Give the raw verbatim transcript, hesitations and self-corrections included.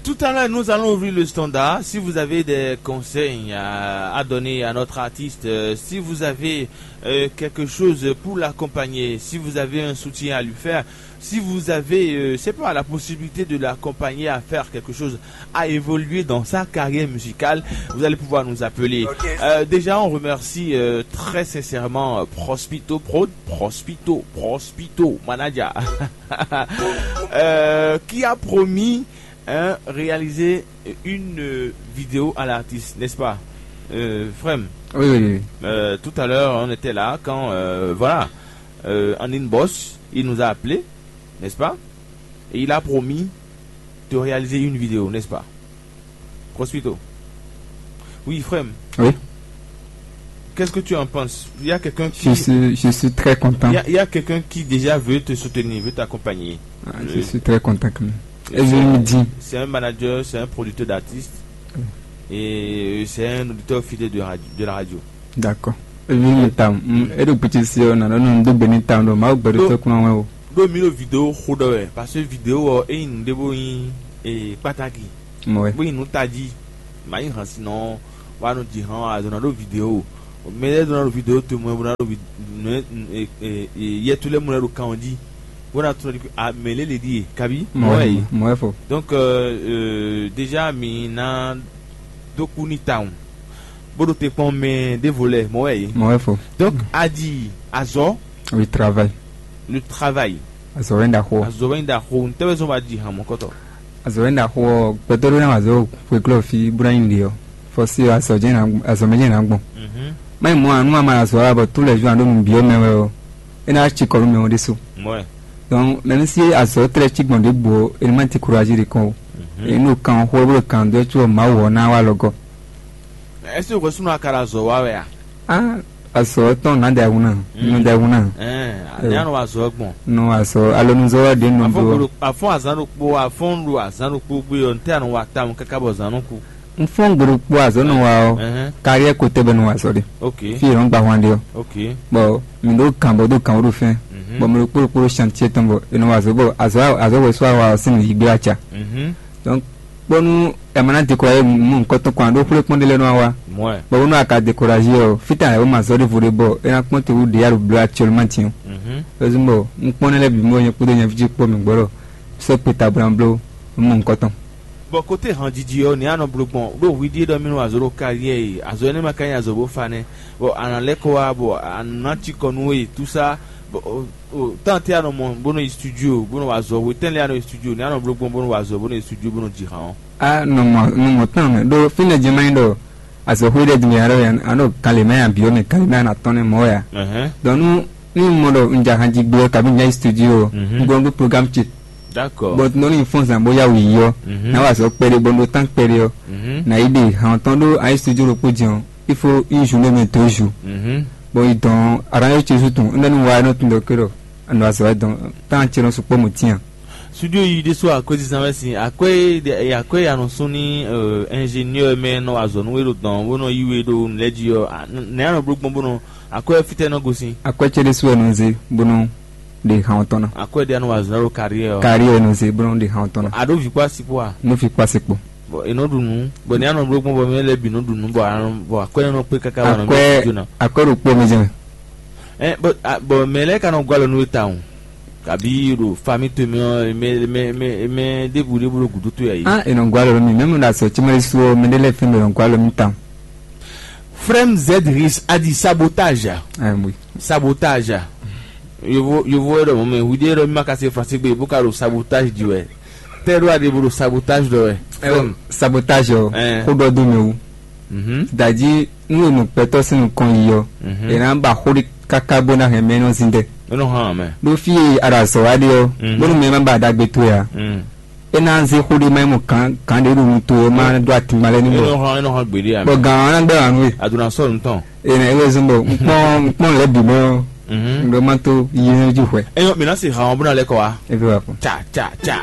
Tout à l'heure, nous allons ouvrir le standard. Si vous avez des conseils à, à donner à notre artiste, euh, si vous avez euh, quelque chose pour l'accompagner, si vous avez un soutien à lui faire, si vous avez, euh, c'est pas, la possibilité de l'accompagner à faire quelque chose, à évoluer dans sa carrière musicale, vous allez pouvoir nous appeler. Euh, déjà, on remercie euh, très sincèrement euh, Prospito Prod, Prospito, Prospito Manager, euh, qui a promis hein, réaliser une euh, vidéo à l'artiste, n'est-ce pas, euh, Frem? Oui, oui, oui. Euh, tout à l'heure, on était là quand, euh, voilà, euh, en inbox, il nous a appelé, n'est-ce pas? Et il a promis de réaliser une vidéo, n'est-ce pas? Prospito. Oui, Frem. Oui. Qu'est-ce que tu en penses? Il y a quelqu'un Je qui, suis, je suis très content. il y a, il y a quelqu'un qui déjà veut te soutenir, veut t'accompagner. Ah, je suis très content quand même. Et je me dis, C'est un manager, c'est un producteur d'artistes et c'est un auditeur fidèle de, radio, de la radio. D'accord. Ebi mi ta, mm, e ɖo kpiti si ɔ, na nɔ nɔ do gbe ni ta ɖo Mawu gbɛɖo tɔ kuna wɛ o. Ɖo mi ɖo video xo ɖɔ wɛ, parce que video ɔ e nyi nu ɖe bo nyi e kpataki, Mɔ wɛ. Bo nyi nu tají, ma nyi hàn sinɔ wa nɔ ji hàn azɔ na ɖo video. Mɛ lɛ do na ɖo video to mɔ bo na ɖo vi- nɔ- e- e- e- yɛtu lɛ mɔ lɛ ɖo kan ɔ jí. Bo na tunɔ di a mɛ lɛ le ɖi e kabi. Mɔ wɛ. Mɔ wɛ fo. Donc euh, euh, déjà mi na dó kú ní tawun bó ɖo te kpɔn mɛ ɖěvo lɛ mɔ wɛ yě. Mɔ wɛ fo. Donc a ɖi azɔ Oui, travail. Le travail. Azɔ wɛ nda xo. Azɔ wɛ nda xo ntɛwɛ zɔn wa ɖi hàn mɔkɔtɔ. Azɔ wɛ nda xo ɔ gbɛtɔ ɖo na azɔ xwe klɔ fi bó na nyi ɖe ɔ. Fɔ si azɔ jɛ na azɔ mɛ jɛ na gbɔn. Mayi mɔ anu ama azɔ wa bɔ tout les jours ando nu biɔ mɛ wɛ ɔ. E na ci kɔ nu mɛ ɔ ɖe so. Mɔ wɛ. Donc même si azɔ trɛ ci gbɔn ɖe bo ɔ, e ma ti courage ɖe kɔn o. E no kan xo bó kan do tso ma wɔ na wa lɔgɔ. Est-ce que o sunu akara azɔ wa wɛ a? Ah, azɔ tɔn na da wuna. No da wuna. Ɛn, ne anɔ wa azɔ gbɔn. No azɔ alonuzɔ wa de no Afɔn do. Gbolo- afɔn azan ɖokpo afɔn ɖo azan ɖokpo gbé ɔ ntɛ anɔ wa tam kaka bɔ zan nɔ ku. N fɔn gbolo kpo azɔ no wa ɔ. Ɛhɛn. Carrière côté bɛ no wa azɔ de. Ok. Fi yɛ nɔ gba hwan de ɔ. Ok. Bon, mi ɖo kan bɔ do kan wo ɖo fɛn. Bɔn mi ɖo kpolo kpolo chantier tɔn bɔ e nɔ wa azɔ bɔ azɔ azɔ wɛ so wa sin yi gbe aca. Mhm. Donc bɔnu ɛ ma na décourager mu nkɔtɔn kɔn a ɖo xwlé kpɔn ɖe lɛ nɔ wa. Mɔɛ. Bɔn bɔnu a ka décourager ɔ fita ɛ wo ma zɔ ɖe vo ɖe bɔ e na kpɔn te wu ɖe ya ɖo blo actuellement tiɲɔ. Mhm. Ezun bɔ n kpɔn ne lɛ bi mo nyɛ kpódó nyɛ ví kpɔ mi gbɔdɔ sɔ kpe ta blan blo mu nkɔtɔn. Bɔ kote hanjiji ɔ ni anɔ blo gbɔn ɖo hwi ɖie ɖɔ mi nɔ azɔ ɖo kariɛ yi azɔ ne ma ka nyi azɔ bo fa nɛ bɔ ana lɛ kɔ wa bɔ ana ci kɔ nu yi tusa bɔ o o tante anɔ mɔ bo nɔ yi studio bo nɔ wa azɔ hwetɛn lɛ anɔ yi studio ni anɔ blo gbɔn bo nɔ wa azɔ bo nɔ yi studio bo nɔ ji han ɔ. A nɔ mɔ nɔ mɔ tán mɛ ɖo fínɛ jɛ ma nyi ɖɔ azɔxwé ɖe dun yàrá yà anɔ kalima yà biɔ mɛ kalima yà tɔn nɛ mɔ ya. Ɛhɛn. Donc nu nu mɔ ɖɔ n ja han ji gbɔ kabi n ja yi studio. Mhm. N gbɔ n ɖo programme ce. D'accord. Bon nɔ ni fɔn zan bo ya wu yi yɔ. Mhm. Na wa azɔ kpɛɖe bɔ n ɖo tán kpɛɖe yɔ. Mhm. Na yi ɖe han tɔn ɖo ayi studio ɖo kpo jɛn o. Il faut une journée mais deux jours. Mhm. Bon yi dɔn arrangé ce jour tun n ɖe nu wa nɔ tun dɔ ke ɖɔ. Anɔ azɔ wɛ dɔn tan ce nɔ sukpɔ mo tiɲa. Studio yi ɖe so akwɛ sisan wɛ sin akwɛ akwɛ ya nɔ sún ní ingénieur mɛ nɔ azɔ nú we ɖo dɔn bó nɔ yi we ɖo nulɛ jí ɔ nɛ anɔ bló gbɔn bó nɔ akwɛ fitɛ nɔ gosin. Akwɛ ce ɖe so wɛ nɔ ze bó nɔ ɖe hàn tɔn na. Akwɛ ɖe anɔ azɔ ɖo carrière ɔ. Carrière nɔ ze bó nɔ ɖe hàn tɔn na. Aɖo vi kpó asi kpó a. Nɔ vi kpó asi kpó. Bɔn e nɔ ɖu nu bɔn nɛ anɔ bló gbɔn bɔn mɛ lɛ bi nɔ ɖu nu bɔn anɔ bɔn akwɛ nɔ kpé kaka wà nɔ ɖo studio na. Akwɛ ɖo kpó mi jɛ. Ɛ bɔn a- bɔn mɛ lɛ ka nɔ gɔ́ alɔ nú we tawun kabi ɖo fami towe mɛ ɔ mɛ mɛ mɛ mɛ ɖěbǔ ɖěbǔ ɖo gǔdo towe ayi. Ah, e nɔ gɔ́ alɔ nú mi mɛmu ɖo azɔ tí ma ɖe su ɔ mɛ ɖé lɛ́ɛ fɛn bɛ nɔ gɔ́ alɔ nú tawun. Frem zedris a di sabotage. Ah, oui. Sabotage. Yovo yovo wɛ ɖɔ mɔ mɛ hu ɖe ɖɔ mi ma ka se français gbe bó ka ɖo sabotage di wɛ tɛ ɖo aɖe bo ɖo sabotage ɖɔ wɛ. Frem. Sabotage ɔ. Ɛn. Xó ɖɔ dó mɛ wú. Mhm. Dadzi nu e mɔ gbɛtɔ́ sín nukɔn yi ɔ́, mhm, è nǎ ba xó ɖé káká bó ná hɛn mɛ e nɔ zin dɛ. É nɔ hán mɛ. Ɖó fí e a ɖo azɔ̌ wa ɖe ɔ́, mhm, bónú mɛ ma ba ɖagbe towe ǎ, mm, é ná zé xó ɖé ma nyí mɔ gǎn gǎn ɖé ɖo nu towe ɔ́ ma ɖó atingban lɛ́ɛ ní é bɔ. Nɔ hán é nɔ hán gbeɖé ǎ. Bɔ gǎn ɔ́ ná gbɛ́ wǎ nú we. A ɖo ná sɔ́ nǔ tɔn. È nǎ é wezun bɔ un kpɔ́n un kpɔ́n lɛ̌ bǐ mɛ ɔ́, mhm, un ɖɔ má tó yi nú jí hwɛ. É nyɔ́ mǐ ná se hǎn ɔ́ bó ná lɛ́ kɔ wá. É fẹ́ wá kpɔ́n. Ca ca ca.